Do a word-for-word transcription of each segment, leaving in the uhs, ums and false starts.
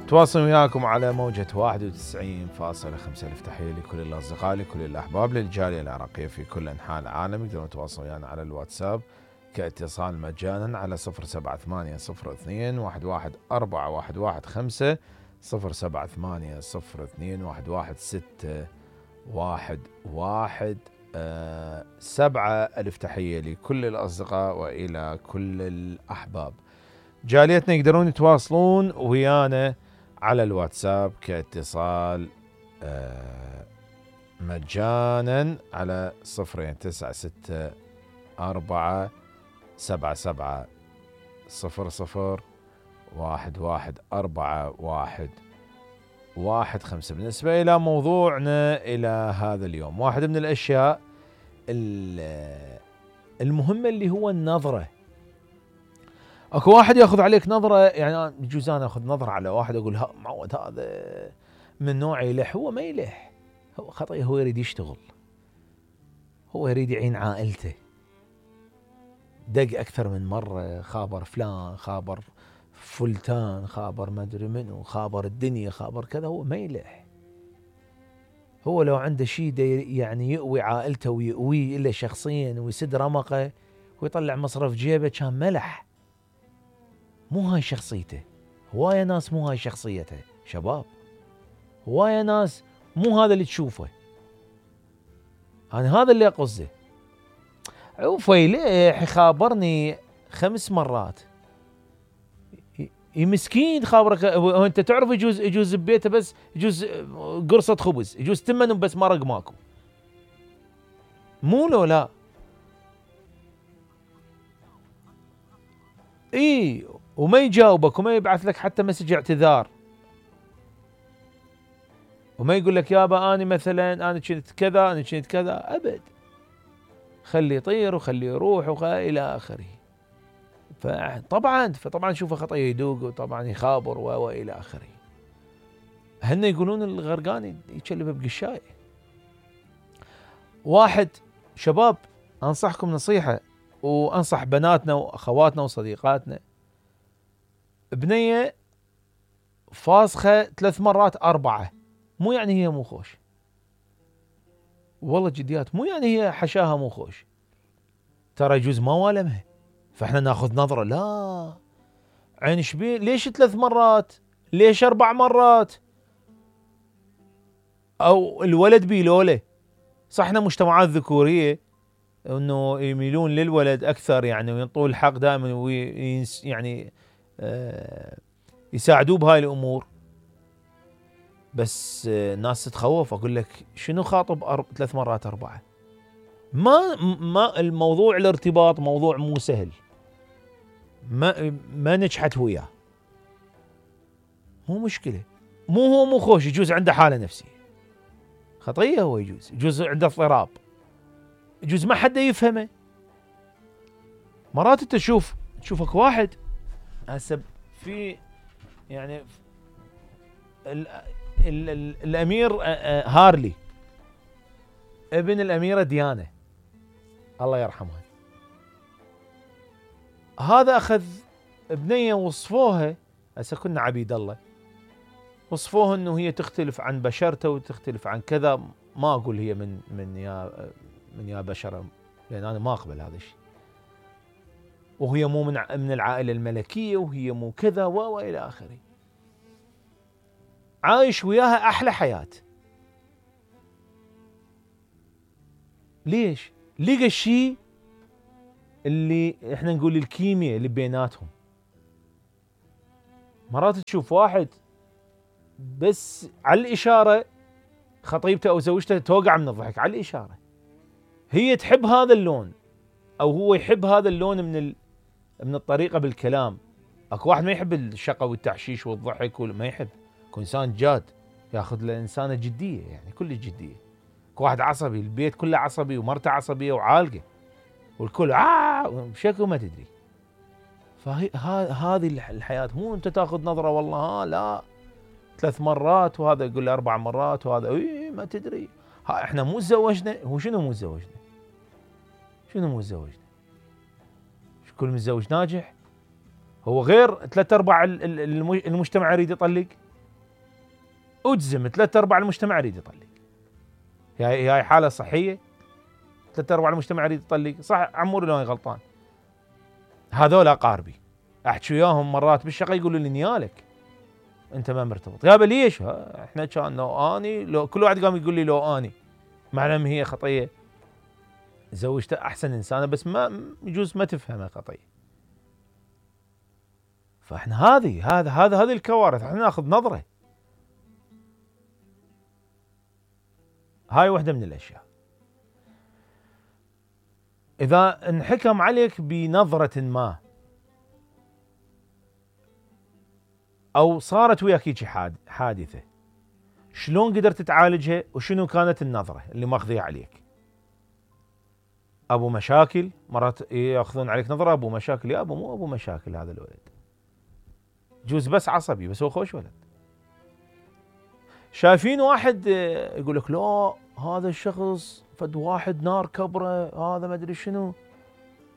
تواصل وياكم على موجة واحد وتسعين فاصلة خمسة. ألف تحية لكل الأصدقاء لكل الأحباب للجالية العراقية في كل أنحاء العالم. يقدرون يتواصلون ويانا على الواتساب كاتصال مجانا على صفر سبعة ثمانية صفر اثنين واحد واحد أربعة واحد واحد خمسة صفر سبعة ثمانية صفر اثنين واحد واحد ستة واحد واحد أه سبعة. ألف تحية لكل الأصدقاء وإلى كل الأحباب. جاليتنا يقدرون يتواصلون ويانا على الواتساب كاتصال أه مجانا على صفرين تسعة ستة أربعة سبعة سبعة صفر صفر واحد واحد أربعة واحد واحد خمسة. بالنسبة إلى موضوعنا إلى هذا اليوم، واحد من الأشياء المهمة اللي هو النظرة. اكو واحد ياخذ عليك نظرة، يعني يجوز انا اخذ نظرة على واحد اقول ها معود هذا من نوع يلح، هو ما يلح، هو خطأ، هو يريد يشتغل، هو يريد يعين عائلته. دق اكثر من مرة، خابر فلان، خابر فلتان، خابر ما ادري منو، خابر الدنيا، خابر كذا، هو ما يلح. هو لو عنده شيء يعني يقوي عائلته ويقويه الا شخصيا ويسد رمقه ويطلع مصرف جيبه كان ملح. مو هاي شخصيته. هواية ناس مو هاي شخصيته شباب، هواية ناس مو هذا اللي تشوفه. أنا هذا اللي أقصده. وفيليح يخابرني خمس مرات، مسكين خابرك. أنت تعرف يجوز يجوز ببيته بس يجوز قرصة خبز، يجوز تمن بس مرق ماكو، مو لو لا. إيه، وما يجاوبك وما يبعث لك حتى مسج اعتذار، وما يقول لك يابا أنا مثلا أنا كنت كذا أنا كنت كذا، أبد. خلي يطير وخلي يروح وإلى آخره. فطبعا فطبعا شوفه خطأ يدوق، وطبعا يخابر وإلى آخره. هن يقولون الغرقان يشلب بقشاي. واحد شباب أنصحكم نصيحة، وأنصح بناتنا وأخواتنا وصديقاتنا. بنية فاسخة ثلاث مرات أربعة، مو يعني هي مو خوش، والله جديات، مو يعني هي حشاها مو خوش. ترى يجوز ما والمها، فاحنا ناخذ نظرة. لا، عين شبين، ليش ثلاث مرات؟ ليش أربع مرات؟ أو الولد بيلوله. صح احنا مجتمعات ذكورية انه يميلون للولد أكثر، يعني وينطوا الحق دائما، وينس يعني آه يساعدوه بهاي الأمور. بس الناس تتخوف. أقول لك شنو خاطب أرب... ثلاث مرات أربعة؟ ما ما الموضوع الارتباط موضوع مو سهل، ما ما نجحت وياه، مو مشكلة. مو هو مو خوش، يجوز عنده حالة نفسية خطية، هو يجوز يجوز عنده اضطراب، يجوز ما حد يفهمه. مرات تشوف تشوفك واحد هسه في يعني ال ال ال الأمير هارلي ابن الأميرة ديانا الله يرحمها، هذا أخذ بنية وصفوها. هسه كنا عبيد الله، وصفوها انه هي تختلف عن بشرته وتختلف عن كذا. ما اقول هي من من يا من يا بشره، لان انا ما اقبل هذا الشيء. وهي مو من من العائله الملكيه، وهي مو كذا والى اخره. عايش وياها احلى حياه. ليش؟ لقى الشيء اللي احنا نقول الكيمياء اللي بيناتهم. مرات تشوف واحد بس على الإشارة خطيبته أو زوجته توقع من الضحك على الإشارة. هي تحب هذا اللون أو هو يحب هذا اللون من ال... من الطريقة بالكلام. أكو واحد ما يحب الشقة والتحشيش والضحك، وما يحب. أكو إنسان جاد ياخذ الإنسانة جدية، يعني كل جدية. أكو واحد عصبي، البيت كله عصبي ومرته عصبية وعالقة والكل آه بشكل ما تدري. فهذه الحياة. مو أنت تاخذ نظرة والله ها لا ثلاث مرات، وهذا يقول لي أربع مرات، وهذا إيه ما تدري. ها إحنا مو تزوجنا. هو شنو مو تزوجنا؟ شنو مو تزوجنا؟ كل متزوج ناجح؟ هو غير ثلاث أرباع المجتمع يريد يطلق. اجزم ثلاث ارباع المجتمع يريد يطلق. هاي هاي حاله صحيه؟ ثلاث ارباع المجتمع يريد يطلق، صح عموري لو غلطان. هذول اقاربي احكي وياهم مرات بالشقه يقولوا لي نيالك انت ما مرتبط. يابا ليش؟ احنا كان لو اني لو كل واحد قام يقول لي لو اني، مع ان هي خطيه زوجته احسن انسانه بس ما يجوز ما تفهمها خطيه. فاحنا هذه هذا هذا هذه الكوارث احنا ناخذ نظره. هاي واحده من الاشياء. اذا انحكم عليك بنظره ما او صارت وياك هيك حادثه، شلون قدرت تعالجها وشنو كانت النظره اللي ماخذيها عليك؟ ابو مشاكل، مرات ياخذون عليك نظره ابو مشاكل. يا ابو مو ابو مشاكل هذا الولد، جوز بس عصبي بس هو خوش ولد. شايفين واحد يقول لك لا هذا الشخص فد واحد نار كبره، هذا ما ادري شنو.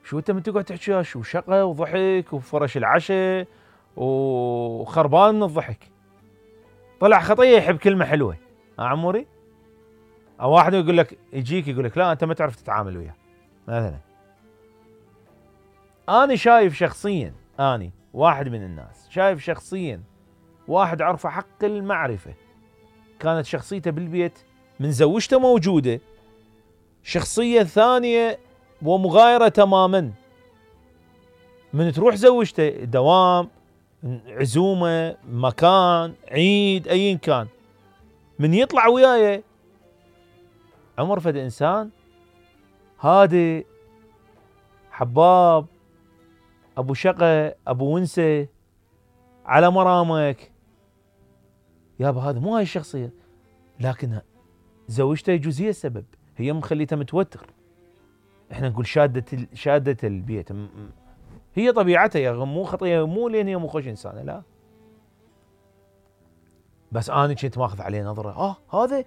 شو انت من تقعد تحكي شو شقه وضحك وفرش العشاء وخربان من الضحك، طلع خطيه يحب كلمه حلوه. ها عموري؟ او واحد يقول لك يجيك يقول لك لا انت ما تعرف تتعامل وياه مثلا. انا شايف شخصيا، اني واحد من الناس شايف شخصيا واحد عرفه حق المعرفه، كانت شخصيته بالبيت من زوجته موجوده شخصيه ثانيه ومغايره تماما. من تروح زوجته دوام، عزومه، مكان، عيد، ايا كان، من يطلع وياي عمر فد انسان هادي حباب ابو شقه ابو ونسه على مرامك. يابا هذا مو هاي الشخصيه، لكن زوجته يجوز هي السبب، هي مخليته متوتر. احنا نقول شاده شاده البيت، هي طبيعتها يا مو خطيه، مو لان هي مو خوش انسانه، لا بس انا كنت ماخذ عليه نظره. اه هذا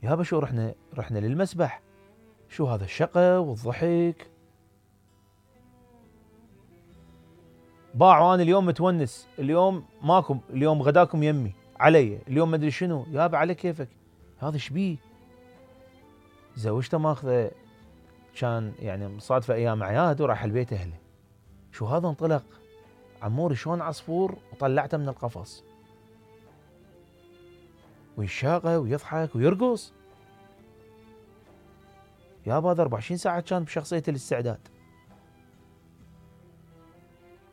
يابا شو رحنا رحنا للمسبح، شو هذا الشقه والضحك. باعوا انا اليوم متونس، اليوم ماكم، اليوم غداكم يمي علي، اليوم ما ادري شنو. يابا على كيفك، هذا شبيه؟ زوجته ماخذه كان يعني مصادفه ايام اعياد وراح البيت اهله. شو هذا انطلق عموري شلون عصفور وطلعته من القفص ويشاقه ويضحك ويرقص. يابا هذا أربعة وعشرين ساعه كان بشخصيه الاستعداد،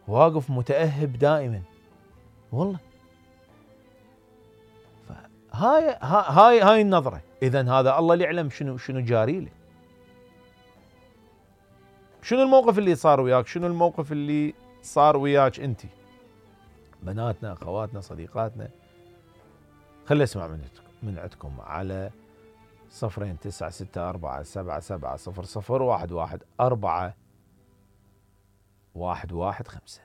واقف متأهب دائما والله. هاي هاي هاي النظره. اذا هذا الله اللي يعلم شنو شنو جاري له، شنو الموقف اللي صار وياك، شنو الموقف اللي صار وياك انت، بناتنا، اخواتنا، صديقاتنا. خلي اسمع من من عندكم على صفرين تسعة ستة أربعة سبعة سبعة صفر صفر واحد واحد أربعة واحد واحد خمسة.